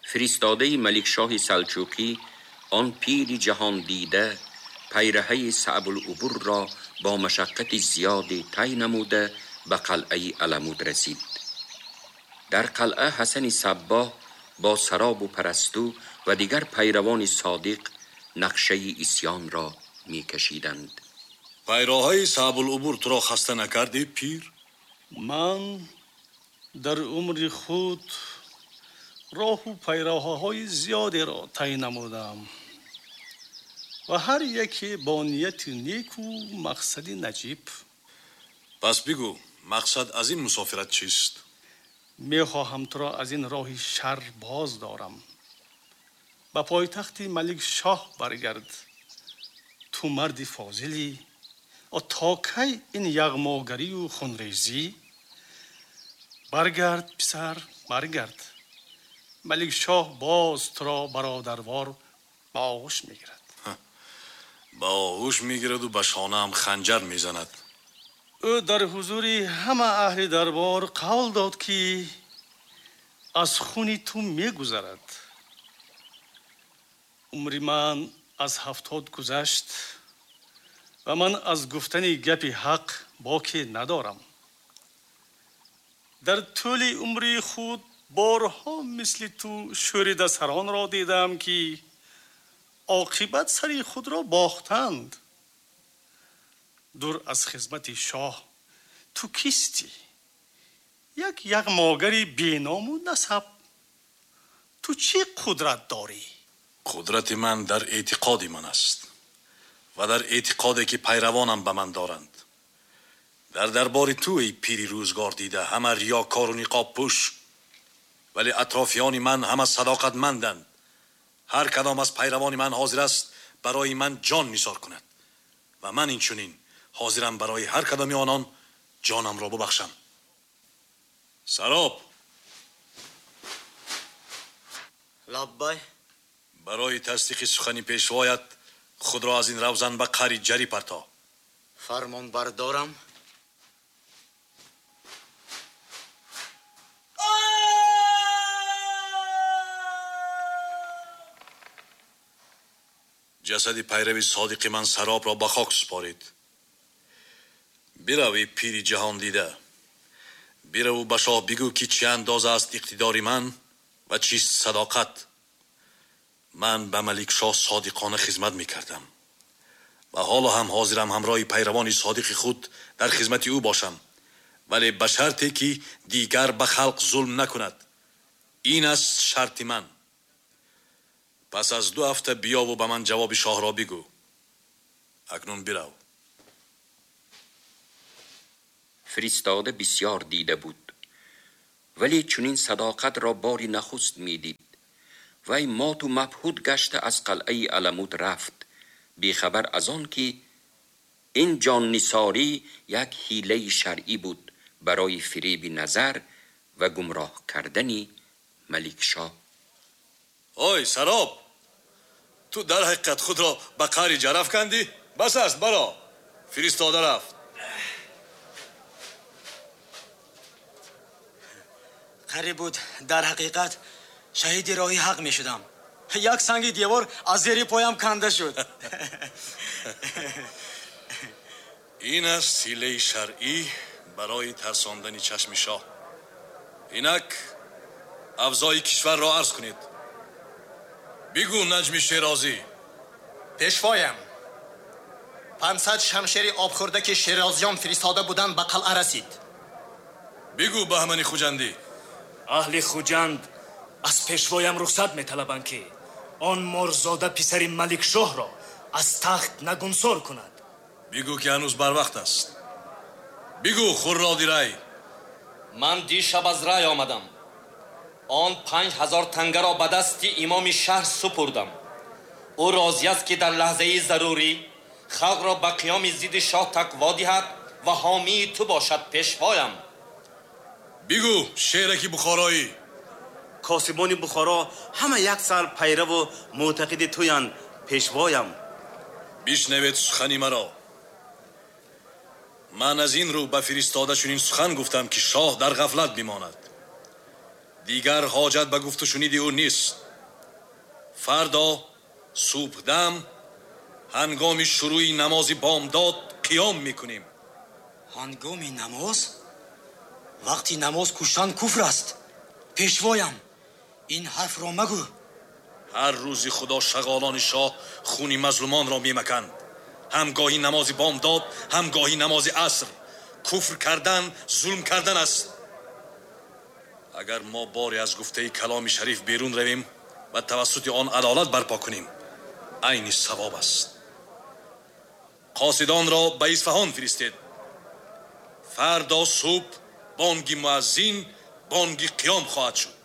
Фиристодаи Маликшоҳи Салчуқӣ, он пири ҷаҳондида, пайраҳаи Саъбулубурро бо машаққати зиёде тай намуда ба қалъаи Аламут расид. Дар қалъа Ҳасани Саббоҳ бо Саробу Парасту ва дигар пайравони содиқ нақшаи исьёнро мекашиданд. Пайроҳаи Саъбулубур туро хаста накардӣ, пир? Ман дар умри худ роҳу пайроҳаҳои зиёдеро тай намудам ва ҳар яке бо нияти неку мақсади наҷиб. Пас бигӯ, мақсад аз ин мусофират чист? Мехоҳам туро аз ин роҳи шар боз дорам. Ба пойтахти Маликшоҳ баргард. Ту марди фозилӣ, то кай ин яғмогарию хунрезӣ? Баргард, писар, баргард. Маликшоҳ боз туро бародарвор ба оғӯш мегирад. Ба оғӯш мегираду ба шонаам ханҷар мезанад. Ӯ дар ҳузури ҳама аҳли дарбор қавл дод, ки аз хуни ту мегузарад. Умри ман аз 70 гузашт ва ман аз гуфтани гапи ҳақ боке надорам. Дар тӯли умри худ борҳо мисли ту шӯридасаронро дидам, ки оқибат сари худро бохтанд. Дур аз хизмати шоҳ ту кистӣ? Як яғмогари беному насаб. Ту чӣ қудрат дорӣ? Қудрати ман дар эътиқоди ман аст ва дар эътиқоде ки пайравонам ба ман доранд. Дар дарбори ту, эй пири рӯзгор дида, ҳама риёкору ниқобпӯш, вале атрофиёни ман ҳама садоқатманданд. Ҳар кадом аз пайравони ман ҳозир аст барои ман ҷон нисор кунад ва ман инчунин ҳозирам барои ҳар кадоми онон ҷонамро бубахшам. Сароб! Лаббай! Барои тасдиқи сухани пешвоят худро аз ин равзан ба қари ҷарӣ парто. Фармон бардорам. Ҷасади пайрави содиқи ман Саробро ба хок супорид. Бирав, эй пири ҷаҳондида, бираву ба шоҳ бигӯ, ки чӣ андоза аст иқтидори ман ва чист садоқат. Ман ба Маликшоҳ содиқона хизмат мекардам ва ҳоло ҳам ҳозирам ҳамроҳи пайравони содиқи худ дар хизмати ӯ бошам, вале ба шарте ки дигар ба халқ зулм накунад. Ин аст шарти ман. Пас аз 2 ҳафта биёву ба ман ҷавоби шоҳро бигӯ. Акнун бирав. Фиристода бисёр дида буд, вале чунин садоқатро бори нахуст медид. Вай моту мабҳут гашта аз қалъаи Аламут рафт, бехабар аз он ки ин ҷоннисорӣ як ҳилаи шаръӣ буд барои фиреби назар ва гумроҳ кардани Маликшоҳ. Ой Сароб, ту дар ҳақиқат худро ба қари ҷараф кандӣ? Бас аст, баро. Фиристода рафт. Қариб буд дар ҳақиқат шаҳиди роҳи ҳақ мешудам. Як санги девор аз зери поям канда шуд. Ин аст ҳилаи шаръӣ барои тарсондани чашми шоҳ. Инак авзои кишварро арз кунед. Бигӯ, Наҷми Шерозӣ. Пешвоям, 500 шамшери обхӯрда, ки шерозиён фиристода буданд, ба қалъа расид. Бигӯ, Баҳмани Хуҷандӣ. Аҳли Хуҷанд аз пешвоям рухсат металабанд, ки он морзода писари Маликшоҳро аз тахт нагунсор кунад. Бигӯ, ки ҳанӯз барвақт аст. Бигӯ, Хурроди Рай. Ман дишаб аз Рай омадам. Он 5000 тангаро ба дасти имоми шаҳр супурдам. Ӯ розӣ аст, ки дар лаҳзаи зарурӣ халқро ба қиёми зидди шоҳ тақво диҳад ва ҳомии ту бошад, пешвоям. Бигӯ, шераки бухороӣ. Косибони Бухоро ҳама як сар пайраву мӯътақиди туянд, пешвоям. Бишнавед сухани маро. Ман аз ин рӯ ба фиристода чунин сухан гуфтам, ки шоҳ дар ғафлат бимонад. Дигар ҳоҷат ба гуфту шуниди ӯ нест. Фардо субҳдам ҳангоми шурӯи намози бомдод қиём мекунем. Ҳангоми намоз? Вақти намоз куштан куфр аст. Пешвоям, ин ҳарфро магӯ. Ҳар рӯзи Худо шағолони шоҳ хуни мазлумонро мемаканд. Ҳам гоҳи намози бомдод, ҳам гоҳи намози аср. Куфр кардан зулм кардан аст. Агар мо боре аз гуфтаи каломи шариф берун равем ва тавассути он адолат барпо кунем, айни савоб аст. Қосидонро ба Исфаҳон фиристед. Фардо субҳ бонги муаззин бонги қиём хоҳад шуд.